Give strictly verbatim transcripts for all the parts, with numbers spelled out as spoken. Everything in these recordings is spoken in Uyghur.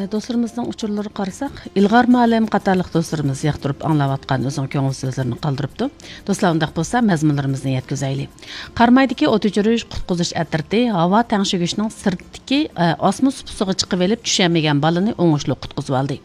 دوستلىرىمىزنىڭ ئۇچۇرلىرىغا قارىساق، ئىلغار مۇئەللىم قاتارلىق دوستلىرىمىز ياقتۇرۇپ ئاڭلاۋاتقان ئۆزىنىڭ كۆڭۈل سۆزلىرىنى قالدۇرۇپتۇ. دوستلار، ئۇنداق بولسا مەزمۇنلىرىمىزنى يەتكۈزەيلى. قارامايدىكى ئوت ئۆچۈرۈش قۇتقۇزۇش ئەترىتى ھاۋا تەڭشىگۈچنىڭ سىرتتىكى، ئە، ئاسما سۇپىسىغا چىقىۋېلىپ چۈشەلمىگەن بالىنى ئوڭۇشلۇق قۇتقۇزۇۋالدى.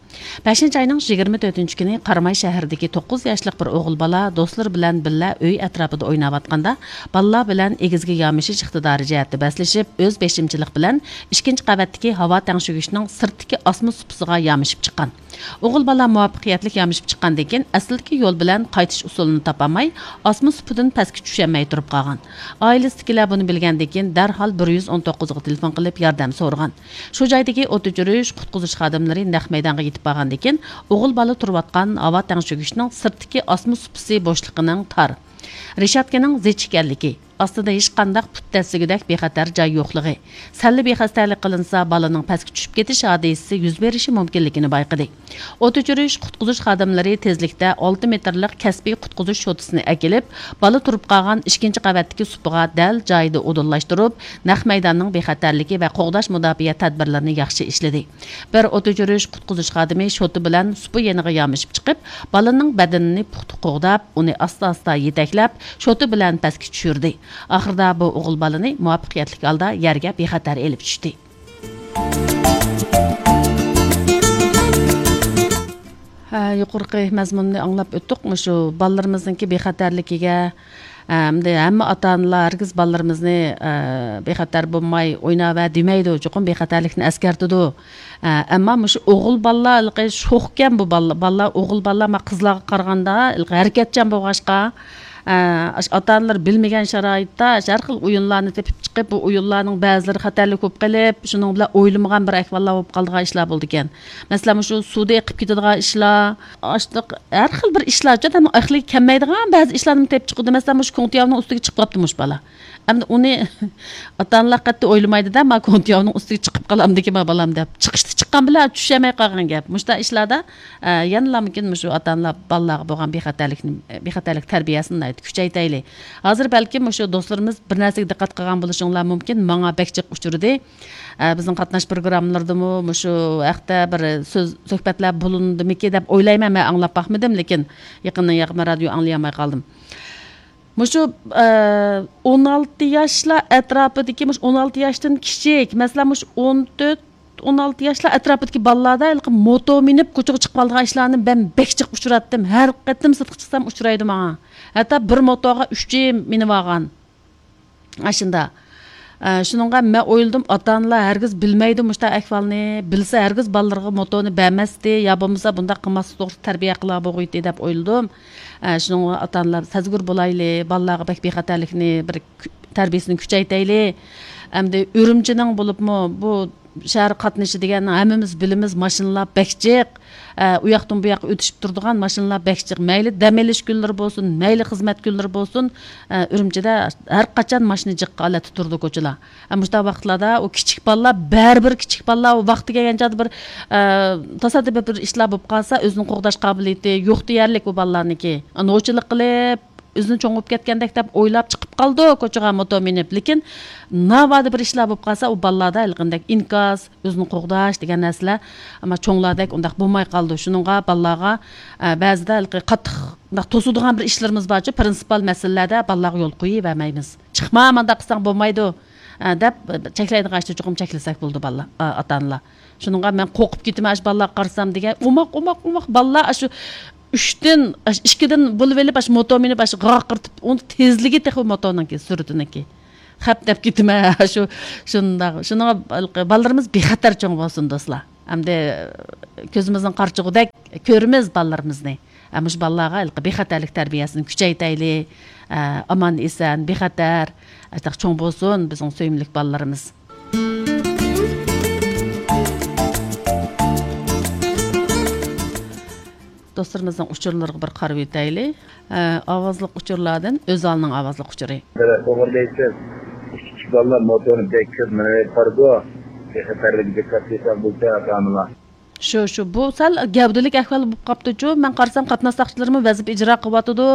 بەشىنچى ئاينىڭ يىگىرمە تۆتىنچى كۈنى قاراماي شەھىرىدىكى توققۇز ياشلىق بىر ئوغۇل بالا دوستلىرى بىلەن بىللە ئۆي ئەتراپىدا ئويناۋاتقاندا، بالىلار بىلەن ئېگىزگە يامىشىش ئىقتىدارى جەھەتتە بەسلىشىپ، ئۆز بېشىمچىلىق بىلەن ئىككىنچى قەۋەتتىكى ھاۋا تەڭشىگۈچنىڭ سىرتتىكى ئاسما سۇپىسىغا يامىشىپ چىققان. ئوغۇل بالا مۇۋەپپەقىيەتلىك يامىشىپ چىققاندىن كېيىن، ئەسلىدىكى يول بىلەن قايتىش ئۇسۇلىنى تاپالماي، ئاسما سۇپىدىن پەسكە چۈشەلمەي تۇرۇپ قالغان. ئائىلىسىدىكىلەر بۇنى بىلگەندىن كېيىن، دەرھال بىر يۈز ئون توققۇزغا تېلېفون قىلىپ ياردەم سورىغان. شۇ جايدىكى ئوت ئۆچۈرۈش، قۇتقۇزۇش خادىملىرى نەق مەيدانغا يېتىپ بارغاندىن كېيىن، ئوغۇل بالا تۇرۇۋاتقان ھاۋا تەڭشىگۈچنىڭ سىرتتىكى ئاسما سۇپىسى بوشلۇقىنىڭ تار، رېشاتكىنىڭ زىچ ئىكەنلىكى، ئاستىدا ھېچقانداق پۇت دەسسىگۈدەك بىخەتەر جاي يوقلۇقى، سەللا بىخەستەلىك قىلىنسا، بالىنىڭ پەسكە چۈشۈپ كېتىش ھادىسىسى يۈز بېرىشى مۇمكىنلىكىنى بايقىدى. ئوت ئۆچۈرۈش، قۇتقۇزۇش خادىملىرى تېزلىكتە ئالتە مېتىرلىق كەسپىي قۇتقۇزۇش شوتىسىنى ئەكېلىپ، بالا تۇرۇپ قالغان ئىككىنچى قەۋەتتىكى سۇپىغا دەل جايىدا ئورۇنلاشتۇرۇپ، نەق مەيداننىڭ بىخەتەرلىكى ۋە قوغداش مۇداپىئە تەدبىرلىرىنى ياخشى ئىشلىدى. بىر ئوت ئۆچۈرۈش قۇتقۇزۇش خادىمى شوتا بىلەن سۇپا يېنىغا يامىشىپ چىقىپ، بالىنىڭ بەدىنىنى پۇختا قوغداپ، ئۇنى ئاستا-ئاستا يېتەكلەپ، شوتا بىلەن پەسكە چۈشۈردى. ئاخىرىدا بۇ ئوغۇل بالىنى مۇۋەپپەقىيەتلىك ھالدا يەرگە بىخەتەر ئېلىپ چۈشتى. ھە، يۇقىرىقى مەزمۇننى ئاڭلاپ ئۆتتۇق. مۇشۇ بالىلىرىمىزنىڭكى بىخەتەرلىكىگە، ئەمدى ھەممە ئاتا-ئانىلار ھەرگىز بالىلىرىمىزنى، ئە، بىخەتەر بولماي ئويناۋەر دېمەيدۇ، چوقۇم بىخەتەرلىكنى ئەسكەرتىدۇ. ئە، ئەمما مۇشۇ ئوغۇل بالىلار ھېلىقى شوخكەن بۇ بالىلار، بالىلار، ئوغۇل بالىلار مانا قىزلارغا قارىغاندا ھېلىقى ھەرىكەتچان بولغاچقا، ئە، ئاشۇ ئاتا-ئانىلار بىلمىگەن شارائىتتا ئاشۇ ھەر خىل ئويۇنلارنى تېپىپ چىقىپ، بۇ ئويۇنلارنىڭ بەزىلىرى خەتەرلىك بولۇپ قېلىپ، شۇنىڭ بىلەن ئويلىمىغان بىر ئەھۋاللار بولۇپ قالىدىغان ئىشلار بولىدىكەن. مەسىلەن، مۇشۇ سۇدا ئېقىپ كېتىدىغان ئىشلار، ئاشۇنداق ھەر خىل بىر ئىشلار، ئادەمنىڭ ئەقلىگە كەلمەيدىغان بەزى ئىشلارنى تېپىپ چىقىدۇ. مەسىلەن، مۇشۇ كوڭتياۋنىڭ ئۈستىگە چىقىپ قاپتۇ مۇشۇ بالا. ئەمدى ئۇنى ئاتا-ئانىلار قەتئىي ئويلىمايدۇ-دە، ما كوڭتياۋنىڭ ئۈستىگە چىقىپ قالامدىكىن ما بالام دەپ. چىقىشتا چىققان بىلەن چۈشەلمەي قالغان گەپ. مۇشۇنداق ئىشلاردا، ئە، يەنىلا مۇمكىن مۇشۇ ئاتا-ئانىلار بالىلارغا بولغان بىخەتەرلىكنى، بىخەتەرلىك تەربىيەسىنى ناھايىتى كۈچەيتەيلى. ھازىر بەلكىم مۇشۇ دوستلىرىمىز بىر نەرسىگە دىققەت قىلغان بولۇشۇڭلار مۇمكىن، ماڭا بەك جىق ئۇچرىدى. ئە، بىزنىڭ قاتناش پروگراممىلىرىدىمۇ مۇشۇ ھەقتە بىر سۆز، سۆھبەتلەر بولۇندىمىكى دەپ ئويلايمەن، مەن ئاڭلاپ باقمىدىم، لېكىن يېقىندىن يېقىن رادىيو ئاڭلىيالماي قالدىم. مۇشۇ، ئە، ئون ئالتە ياشلار ئەتراپىدىكى، مۇشۇ ئون ئالتە ياشتىن كىچىك، مەسىلەن، مۇشۇ ئون تۆت، ئون ئالتە ياشلار ئەتراپىدىكى بالىلاردا ھېلىقى موتو مىنىپ كوچىغا چىقىۋالىدىغان ئىشلارنى مەن بەك جىق ئۇچراتتىم. ھەر قېتىم سىرتقا چىقسام ئۇچرايدۇ ماڭا. ھەتتا بىر موتوغا ئۈچى مىنىۋالغان. ئاشۇنداق. ئە، شۇنىڭغا مەن ئويلىدىم، ئاتا-ئانىلار ھەرگىز بىلمەيدۇ مۇشۇنداق ئەھۋالنى. بىلسە، ھەرگىز بالىلىرىغا موتونى بەرمەستى، يا بولمىسا بۇنداق قىلماسلىق توغرىسىدا تەربىيە قىلا بولغۇيتتى دەپ ئويلىدىم. ئە، شۇنىڭغا ئاتا-ئانىلار سەزگۈر بولايلى، بالىلارغا بەك بىخەتەرلىكنى بىر كۈ-، تەربىيەسىنى كۈچەيتەيلى. ئەمدى ئۈرۈمچىنىڭ بولۇپمۇ بۇ شەھەر قاتنىشى دېگەن ھەممىمىز بىلىمىز، ماشىنىلار بەك جىق. ئە، ئۇ ياقتىن بۇ ياققا ئۆتۈشۈپ تۇرىدىغان ماشىنىلار بەك جىق. مەيلى دەم ئېلىش كۈنلىرى بولسۇن، مەيلى خىزمەت كۈنلىرى بولسۇن، ئە، ئۈرۈمچىدە ھەر قاچان ماشىنا جىق ھالەتتە تۇرىدۇ كوچىلار. ئە، مۇشۇنداق ۋاقىتلاردا ئۇ كىچىك بالىلار، بەرىبىر كىچىك بالىلار ئۇ ۋاقتى كەلگەن چاغدا بىر، ئە، تاسادىپىي بىر ئىشلار بولۇپ قالسا، ئۆزىنى قوغداش قابىلىيىتى يوق دېيەرلىك ئۇ بالىلارنىڭكى. نوچىلىق قىلىپ، ئۆزىنى چوڭ بولۇپ كەتكەندەك دەپ ئويلاپ چىقىپ قالىدۇ كوچىغا موتور مىنىپ. لېكىن ناۋادا بىر ئىشلار بولۇپ قالسا، ئۇ بالىلاردا ھېلىقىندەك ئىنكاس، ئۆزىنى قوغداش دېگەن نەرسىلەر، ئەمما چوڭلاردەك ئۇنداق بولماي قالىدۇ. شۇنىڭغا بالىلارغا، ئە، بەزىدە ھېلىقى قاتتىق مۇنداق توسىدىغان بىر ئىشلىرىمىز بارچۇ، پرىنسىپال مەسىلىلەردە بالىلارغا يول قويۇۋەرمەيمىز. «چىقما، مانداق قىلساڭ بولمايدۇ»، ئە، دەپ چەكلەيدىغان ئىشتا چوقۇم چەكلىسەك بولىدۇ بالىلار، ئا-، ئاتا-ئانىلار. شۇنىڭغا مەن قورقۇپ كېتىمەن، ئاشۇ بالىلارغا قارىسام دېگەن، ئوماق، ئوماق، ئوماق بالىلار ئاشۇ ئۈچتىن، ئاشۇ ئىككىدىن بولۇۋېلىپ، ئاشۇ موتور مىنىپ، ئاشۇ غاقىرتىپ، ئۇنىڭ تېزلىكى تېخى موتورنىڭكى، سۈرئىتىنىڭكى. خەپ دەپ كېتىمەن، شۇ، شۇنداق. شۇنىڭغا بالىلىرىمىز بىخەتەر چوڭ بولسۇن، دوستلار. ئەمدى كۆزىمىزنىڭ قارىچۇقىدەك كۆرىمىز بالىلىرىمىزنى. ئە، مۇشۇ بالىلارغا ھېلىقى بىخەتەرلىك تەربىيەسىنى كۈچەيتەيلى. ئە، ئامان-ئېسەن، بىخەتەر، ئاشۇنداق چوڭ بولسۇن بىزنىڭ سۆيۈملۈك بالىلىرىمىز. دوستلىرىمىزنىڭ ئۇچۇرلىرىغا بىر قارىۋېتەيلى. ئە، ئاۋازلىق ئۇچۇرلاردىن ئۆزئالنىڭ ئاۋازلىق ئۇچۇرى. توغرا دەيسىز. كىچىك بالىلار موتورنى بەك كۆپ مىنىۋېلىپ بارىدۇ. بىخەتەرلىككە دىققەت قىلساق بولىدۇ، ئاتا-ئانىلار. شۇ، شۇ. بۇ سەل گەۋدىلىك ئەھۋال بولۇپ قاپتۇچۇ. مەن قارىسام، قاتناش ساقچىلىرىمۇ ۋەزىپە ئىجرا قىلىۋاتىدۇ.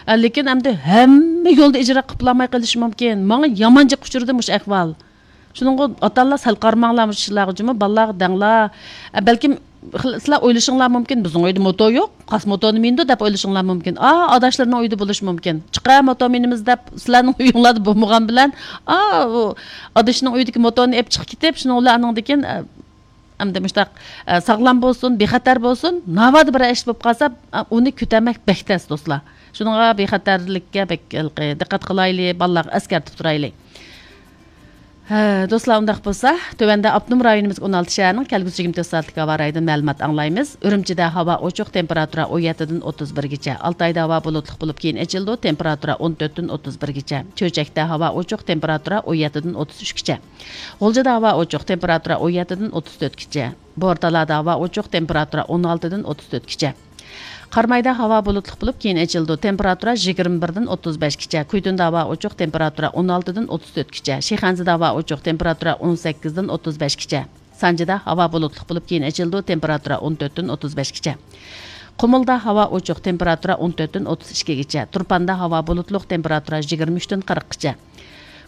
ئە، لېكىن ئەمدى ھەممە يولدا ئىجرا قىلىپ بولالماي قېلىشى مۇمكىن. ماڭا يامان جىق ئۇچرىدى مۇشۇ ئەھۋال. شۇنىڭغا ئاتا-ئانىلار سەل قارىماڭلار مۇشۇ ئىشلارغا جۇمۇ، بالىلارغا دەڭلار. ئە، بەلكىم خىل-، سىلەر ئويلىشىڭلار مۇمكىن، بىزنىڭ ئۆيدە موتور يوق، قايسى موتورنى مىنىدۇ دەپ ئويلىشىڭلار مۇمكىن. ئا، ئاداشلىرىنىڭ ئۆيىدە بولۇشى مۇمكىن. چىقە موتور مىنىمىز دەپ سىلەرنىڭ ئۆيۈڭلاردا بولمىغان بىلەن، ئا، ئۇ ئادىشىنىڭ ئۆيىدىكى موتورنى ئېلىپ چىقىپ كېتىپ، شۇنىڭ بىلەن ئانىڭدىن كېيىن، ئە، ئەمدى مۇشتاق، ئە، ساغلام بولسۇن، بىخەتەر بولسۇن، ناۋادا بىر ئىش بولۇپ قالسا، ئە، ئۇنى كۆتەرمەك بەك تەس، دوستلار. شۇنىڭغا بىخەتەرلىككە بەك ھېلىقى دىققەت قىلايلى، بالىلارغا ئەسكەرتىپ تۇرايلى. ھە، دوستلار، ئۇنداق بولسا، تۆۋەندە ئاپتونوم رايونىمىزغا ئون ئالتە شەھەرنىڭ كەلگۈسى يىگىرمە تۆت سائەتلىك ھاۋا رايىدىن مەلۇمات ئاڭلايمىز. ئۈرۈمچىدە ھاۋا ئوچۇق، تېمپېراتۇرا ئون يەتتىدىن ئوتتۇز بىرگىچە. ئالتايدا ھاۋا بۇلۇتلۇق بولۇپ، كېيىن ئېچىلىدۇ، تېمپېراتۇرا ئون تۆتتىن ئوتتۇز بىرگىچە. چۆچەكتە ھاۋا ئوچۇق، تېمپېراتۇرا ئون يەتتىدىن ئوتتۇز ئۈچكىچە. غۇلجىدا ھاۋا ئوچۇق، تېمپېراتۇرا ئون يەتتىدىن ئوتتۇز تۆتكىچە. بورتالادا ھاۋا ئوچۇق، تېمپېراتۇرا ئون ئالتىدىن ئوتتۇز تۆتكىچە. قارامايدا ھاۋا بۇلۇتلۇق بولۇپ، كېيىن ئېچىلىدۇ، تېمپېراتۇرا يىگىرمە بىردىن ئوتتۇز بەشكىچە. كۇيتۇندا ھاۋا ئوچۇق، تېمپېراتۇرا ئون ئالتىدىن ئوتتۇز تۆتكىچە. شىخەنزىدە ھاۋا ئوچۇق، تېمپېراتۇرا ئون سەككىزدىن ئوتتۇز بەشكىچە. سانجىدا ھاۋا بۇلۇتلۇق بولۇپ، كېيىن ئېچىلىدۇ، تېمپېراتۇرا ئون تۆتتىن ئوتتۇز بەشكىچە. قۇمۇلدا ھاۋا ئوچۇق، تېمپېراتۇرا ئون تۆتتىن ئوتتۇز ئىككىگىچە. تۇرپاندا ھاۋا بۇلۇتلۇق، تېمپېراتۇرا يىگىرمە ئۈچتىن قىرىققىچە.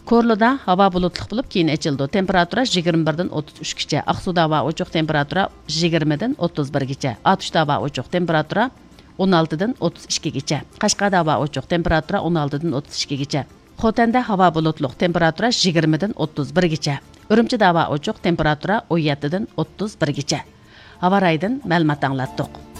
كورلىدا ھاۋا بۇلۇتلۇق بولۇپ، كېيىن ئېچىلىدۇ، تېمپېراتۇرا يىگىرمە بىردىن ئوتتۇز ئۈچكىچە. ئاقسۇدا ھاۋا ئوچۇق، تېمپېراتۇرا يىگىرمىدىن ئوتتۇز بىرگىچە. ئاتۇشتا ھاۋا ئوچۇق، تېمپېراتۇرا ئون ئالتىدىن ئوتتۇز ئىككىگىچە. قەشقەردە ھاۋا ئوچۇق، تېمپېراتۇرا ئون ئالتىدىن ئوتتۇز ئىككىگىچە. خوتەندە ھاۋا بۇلۇتلۇق، تېمپېراتۇرا يىگىرمىدىن ئوتتۇز بىرگىچە. ئۈرۈمچىدە ھاۋا ئوچۇق، تېمپېراتۇرا ئون يەتتىدىن ئوتتۇز بىرگىچە. ھاۋا رايىدىن مەلۇمات ئاڭلاتتۇق.